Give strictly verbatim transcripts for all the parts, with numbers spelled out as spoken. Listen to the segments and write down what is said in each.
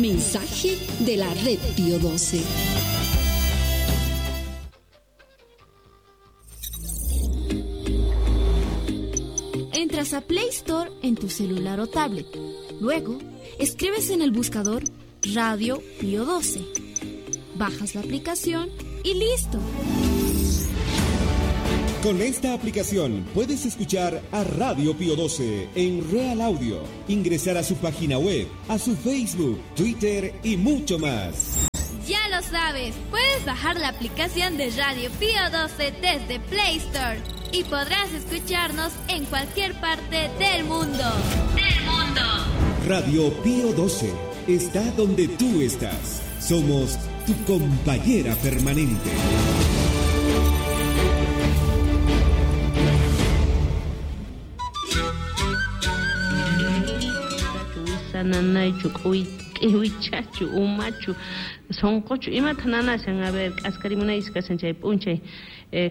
Mensaje de la Red Pío doce. Entras a Play Store en tu celular o tablet. Luego, escribes en el buscador Radio Pío doce. Bajas la aplicación y listo. Con esta aplicación puedes escuchar a Radio Pío doce en Real Audio, ingresar a su página web, a su Facebook, Twitter y mucho más. Ya lo sabes, puedes bajar la aplicación de Radio Pío doce desde Play Store y podrás escucharnos en cualquier parte del mundo. ¡Del mundo! Radio Pío doce está donde tú estás. Somos tu compañera permanente. Nanaychu k'iwichachu umachu sonqochu imata nanashan a ver k'askarimunaychis kashan chay p'unchay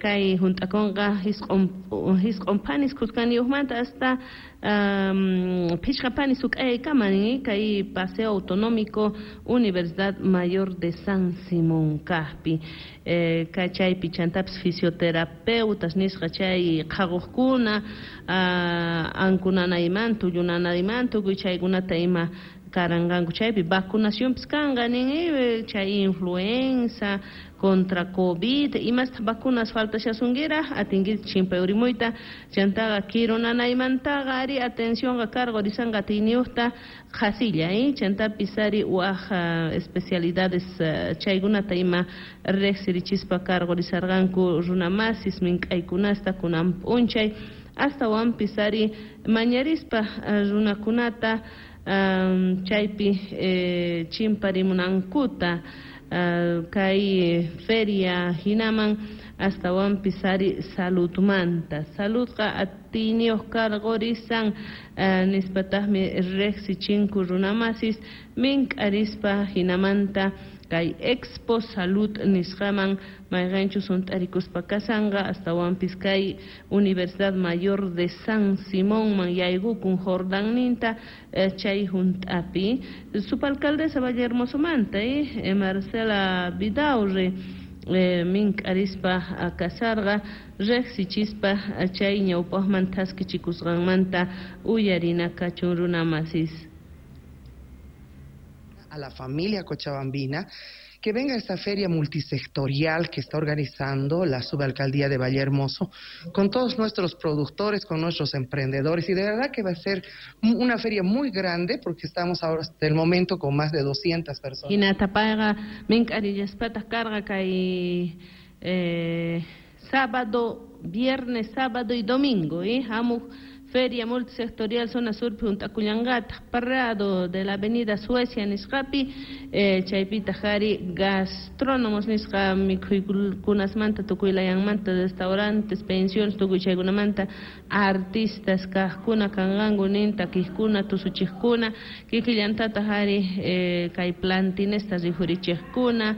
kay hunt'akunqa hisq'un hisq'un panis khuskaniyuqmanta hasta um, phishqa panis suk'ayaykama nin kay Paseo Autonómico Universidad Mayor de San Simón kaqpi eh, kay chaypi chantapis fisioterapeutas nisqa chay qhaquqkuna uh, ankunanaymanta tullunanaymanta tukuy chaykunata ima karanqanku chaypi vacunacionpis kanqa nin chay influenza contra COVID imasta vacunas faltashasunkiras atinki chimpay urimuyta chantaqa kirunanaymantaqa ari atencionqa cargo risanqa atiyniyuqta qhasilla eh chantapis ari waj especialidades chaykunata ima riqsirichispa cargo risarqanku runamasis mink'aykunasta kunan p'unchay astawanpis ari mañarispa runakunata Um, chaypi eh, chimparimunankuta uh, kay feria hinaman astawanpis ari saludmanta saludqa atiyniyuq karqurisan uh, nispataqmi riqsichinku runamasis mink'arispa hinamanta kay Expo Salud nisqaman mayqanchus hunt'arikuspa kasanqa astawanpis kay Universidad Mayor de San Simonman yaykukun Jordanninta eh, chay hunt'api subalcaldesa Vallehermosomanta eh, Marcela Vidaurre eh, mink'arispa kasarqa riqsichispa chay ñawpaqman thaskichikusqanmanta uyarina kachun runamasis. A la familia cochabambina que venga a esta feria multisectorial que está organizando la subalcaldía de Vallehermoso con todos nuestros productores, con nuestros emprendedores, y de verdad que va a ser una feria muy grande porque estamos ahora hasta el momento con más de doscientas personas. Hinatapayqa mink'arillaspataq karqa kay eh, sábado, viernes, sábado y domingo, eh, hamuq Feria Multisectorial Zona Sur hunt'akullanqataq Prado de la Avenida Suecia nisqapi eh, chaypitaq ari gastrónomos nisqa mikhuykunasmanta tukuylayanmanta restaurantes, pensiones tukuy chaykunamanta artistas kaqkuna kanqanku nin takiqkuna tusuchiqkuna kikillantataq ari eh, kay plantinesta rikhurichiqkuna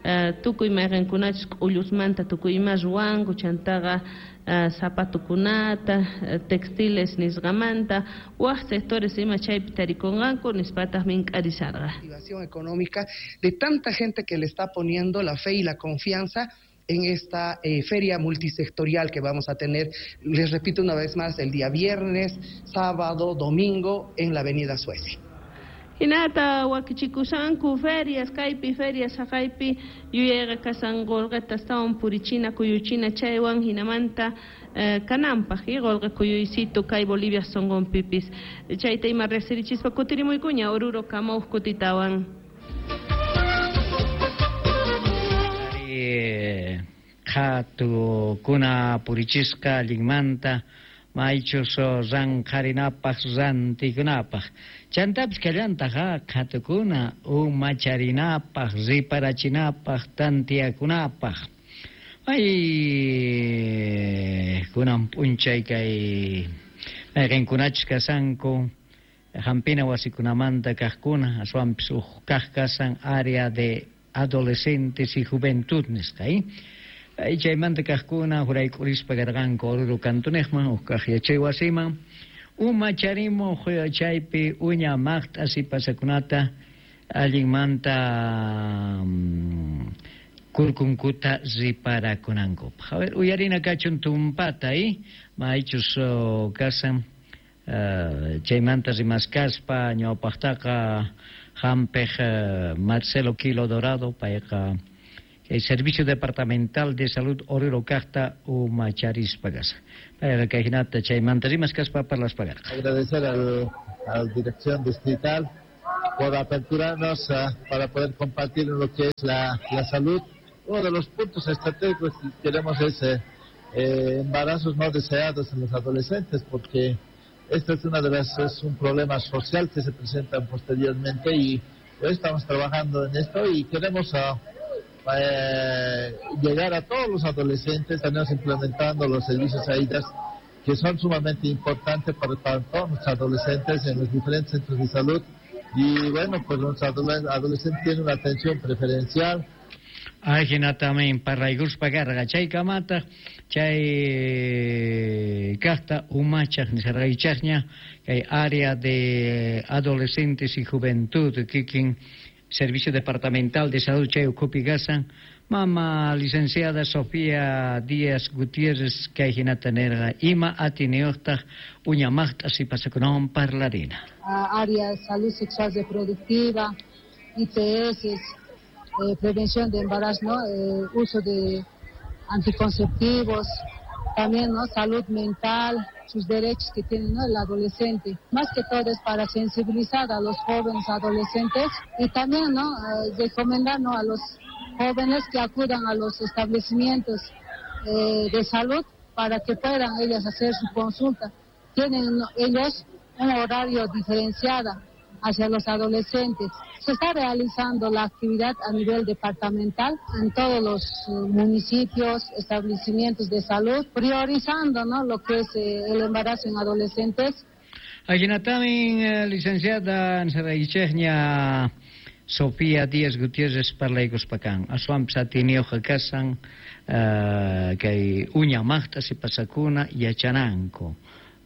Uh, tukuy mayqinkunachus k'ullusmanta tukuy ima ruwanku chantaqa uh, zapatukunata uh, textiles nisqamanta waj sectores ima chaypi tarikunqanku nispataq mink'arisarqa. Activación económica de tanta gente que le está poniendo la fe y la confianza en esta eh, feria multisectorial que vamos a tener, les repito una vez más, el día viernes, sábado, domingo en la Avenida Suecia. Hinata wakichikusanku ferias, kaypi ferias haqaypi yuyayqa kasan qolqeta astawan purichina kuyuchina chaywan hinamanta eh, kananpaq y qolqe kuyuysitu kay Bolivia sonqonpipis chayta ima riqsirichispa kutirimuykuña Oruro kamawq kutitawan. Qhatukuna purichisqa allinmanta maychus ranqharinapaq rantikunapaq chantapis kallantaqa qhatukuna umacharinapaq riparachinapaq tantiyakunapaq ay kunan p'unchay kay mayqinkunachus kasanku hampina wasikunamanta kaqkuna aswanpis huk kaq kasan área de adolescentes y juventud nisqa eh chaymanta kaqkuna hurayk'urispa karqanku Oruro kantunejman huk kaq yachay wasiman umacharimuq chaypi uña maqt'a sipasakunata Allinmanta um, kurkunkuta riparakunankupaq. A ver, uyarina kachun tumpata, eh? Maychus oh, kasan uh, chaymanta rimaskaspa ñawpaqtaqa hampiq uh, Marcelo Quilo Dorado payqa el Servicio Departamental de Salud Oruro kaqta umacharispa kasa. Payqa kay hinata chaymanta rimaskaspa parlaspa karqa. Agradecer al, a la Dirección Distrital por aperturarnos uh, para poder compartir lo que es la, la salud. Uno de los puntos estratégicos que queremos es eh, eh, embarazos no deseados en los adolescentes, porque esto es una de las es un problema social que se presenta posteriormente y hoy estamos trabajando en esto y queremos uh, eh, llegar a todos los adolescentes. Estamos implementando los servicios AIDAS, que son sumamente importantes para, para todos los adolescentes en los diferentes centros de salud. Y bueno, pues los adolescentes tienen una atención preferencial. Ajinatamin parlaykuspa karqa chaykamataq chay kaqta umachaq nisarqaychaqña kay área de adolescentes y juventud kikin Servicio Departamental de Salud chay ukhupi kasan mama licenciada Sofía Díaz Gutiérrez kay hinata nirqa ima atiniyuqtaq uñamaqta sipasakunawan parlarina. Área de salud sexual reproductiva, I T S, eh, prevención de embarazo, ¿no? Eh, uso de anticonceptivos, también, ¿no? Salud mental, sus derechos que tiene, ¿no? El adolescente. Más que todo es para sensibilizar a los jóvenes adolescentes y también, ¿no? Eh, recomendar, ¿no? A los jóvenes que acudan a los establecimientos, eh, de salud para que puedan ellas hacer su consulta. Tienen ellos un horario diferenciado hacia los adolescentes. Se está realizando la actividad a nivel departamental en todos los municipios, establecimientos de salud, priorizando, ¿no?, lo que es, eh, el embarazo en adolescentes. Ajinatamin, eh, licenciada Nsaraychejña Sofía Díaz Gutiérrez parlaykuspakan. Aswanpis atiniyuqqa kasan, uh, kay uña maqta sipasakuna yachananku.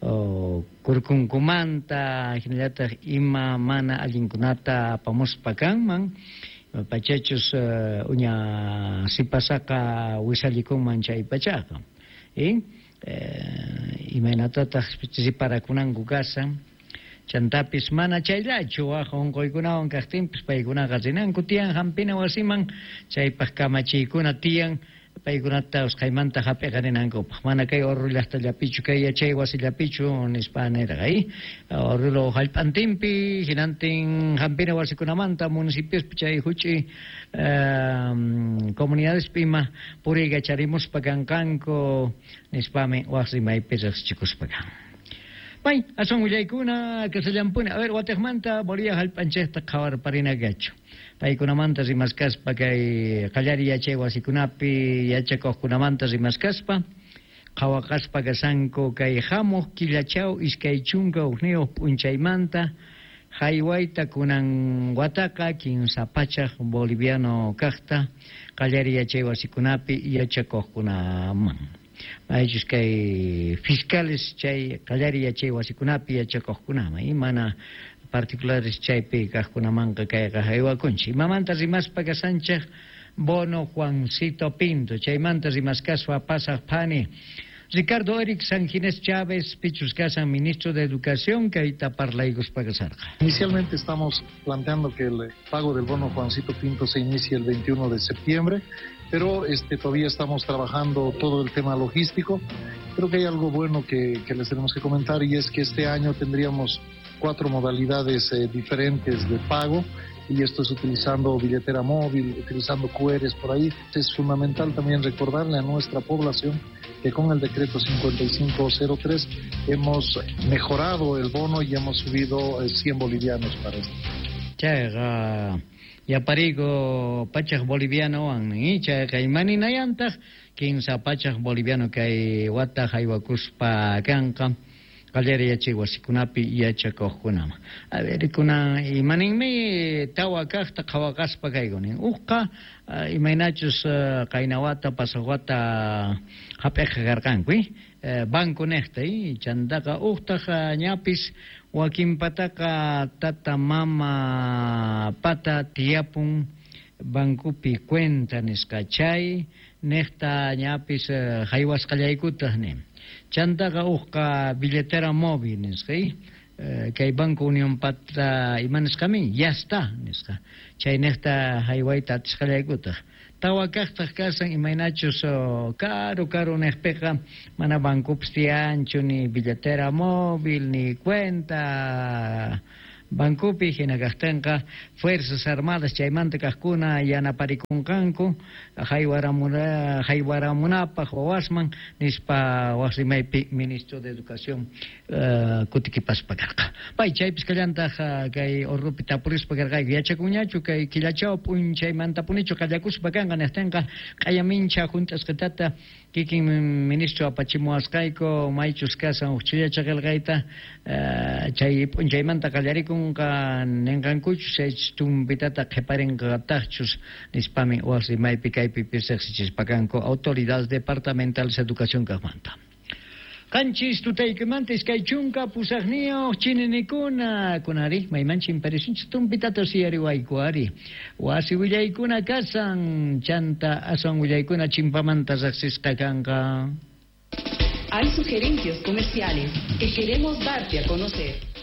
Oh, kurkunkumanta hinallataq ima mana allinkunata apamuspa kanman pachachus uh, uña sipasaqa wisallikunman chay pachaqa eh? Eh, imaynatataq siparakunanku kasan chantapis mana chayllachu waj unquykunawan kaqtinpis paykunaqa rinanku tiyan hampina wasiman chaypaq kamachiykuna tiyan paykunata usqhaymanta hap'iqarinankupaq mana kay Oruro llaqtallapichu kay yachay wasillapichu nispa nirqa eh? Oruro hallp'antinpi hinantin hampina wasikunamanta municipiospi chay huch'i um, comunidadespi ima puriykacharimuspa kanqanku nispami waq rimaypi riqsichikuspa kan. May, asun willaykuna kasallampuni. A ver, watiqmanta Bolivia hallp'anchikta qhawarparinakachu. Paykunamanta rimaskaspa kay qallari yachay wasikunapi yachakuqkunamanta rimaskaspa qhawaqaspa kasanku kay hamuq killachaw iskay chunka hukniyuq p'unchaymanta haywayta kunan wataqa kinsa pachak boliviano kaqta qallari yachay wasikunapi yachakuqkunaman. Maychus kay fiscales chay qallari yachay wasikunapi yachakuqkunaman y mana particulares chaypi kaqkunamanqa kayqa haywakunchik. Imamanta rimaspa kasanchik bono Juancito Pinto chaymanta rimaskaspa pasaq phani Ricardo Eric Sanginés Chávez, pichus kasan ministro de Educación, kayta parlaykuspa kasarqa. Inicialmente estamos planteando que el pago del bono Juancito Pinto se inicie el veintiuno de septiembre, pero este, todavía estamos trabajando todo el tema logístico. Creo que hay algo bueno que, que les tenemos que comentar, y es que este año tendríamos cuatro modalidades eh, diferentes de pago, y esto es utilizando billetera móvil, utilizando Q Rs por ahí. Es fundamental también recordarle a nuestra población que con el decreto cincuenta y cinco cero tres hemos mejorado el bono y hemos subido cien bolivianos para esto. Chayqa yapariku pachak bolivianowan, chayqa imaninayantaq kinsa pachak boliviano kay wata haywakuspa kanqa qallari yachay wasikunapi yachakuqkunaman. A ver, kunan imaninmi tawa kaqta qhawaqaspa kaykunin. Uqqa imaynachus qaynawata pasaqwata hap'iqa karqanku, banco niqta, chantaqa uqtaq ñapis Wakinpataqa tata mama pata tiyapun bankupi cuenta nisqa chay niqta ñapis haywasqallaykutaq nin. Chantaqa uqqa billetera móvil nisqa kay Banco Unión pata ima nisqamin ya está nisqa chay niqta haywayta atisqallaykutaq. Tawa kaqtaq kasan imaynachus karu karu niqpiqa mana bancopis tiyanchu ni billetera móvil ni cuenta bancopi hina kaqtinqa Fuerzas Armadas chaymanta kaqkuna yanaparikunqanku haywaramuna haywaramunapaq wawasman nispa waq rimaypi ministro de Educación uh, kutikipaspa karqa. Pay chaypis kallantaq uh, kay orrupi tapurispa karqayku yachakunñachu kay killachaw p'unchaymantapunichu qallakuspa kanqa niqtinqa q'ayamincha hunt'asqitata kikin ministro apachimuwasqayku maychus kasan huk chillacha qillqayta uh, chay p'unchaymanta qallarikun ninqankuchus chaychus tumpitata qhiparinqataqchus nispami waq rimaypi kaypi riqsichispa kanku autoridades departamentales educación kaqmanta. Qanchis tutaykimanta iskay chunka pusaqniyuq chininikuna kunari mayman chimparisunchis tumpitata siyariwayku ari wasi willaykuna kasan chanta aswan willaykuna chimpamanta riqsisqa kanqa. Hay sugerencias comerciales que queremos darte a conocer.